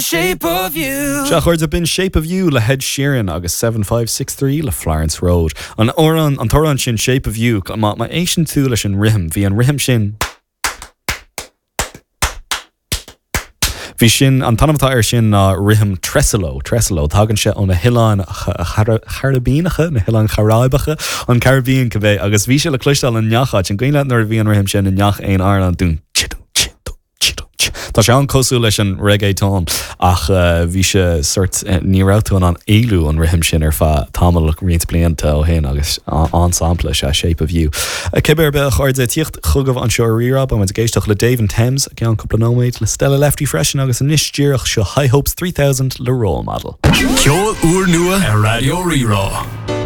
Shape of You. Sea, a chairde, b'in Shape of You le hEd Sheeran agus 7563 le Florence Road. An amhrán, an t-amhrán sin Shape of You, má, má éisteann tú leis an rithim, bhí an rithim sin, Bhí sin, an t-ainm atá air sin ná rithim Tresillo, Tresillo. Tagann sé ó na hOileáin Chairibíneacha, na hOileáin Charáibeacha, an Caribbean cibé, agus bhí sé le cloisteáil i ngach áit. An cuimhin leat nuair a bhí an rithim sin i ngach aon amhrán? Dún, tsi, dún, tsi, dún, tsi, dún, tsi. Tá sé an-cosúil leis an reggaeton ach bhí sé sort, ní raibh tú in ann éalú ón rithim sin ar feadh tamall, roinnt blianta ó shin agus an-sampla is ea Shape of You. Cibé ar bith, a chairde, tíocht chugaibh anseo ar Rí-Rá. Beidh muid ag éisteacht le Dave and Thames i gceann cúpla nóiméad, le Stella Lefty freisin agus anois díreach seo High Hopes 3000 le Role Model. Ceol úrnua ar Raidió Rí-Rá.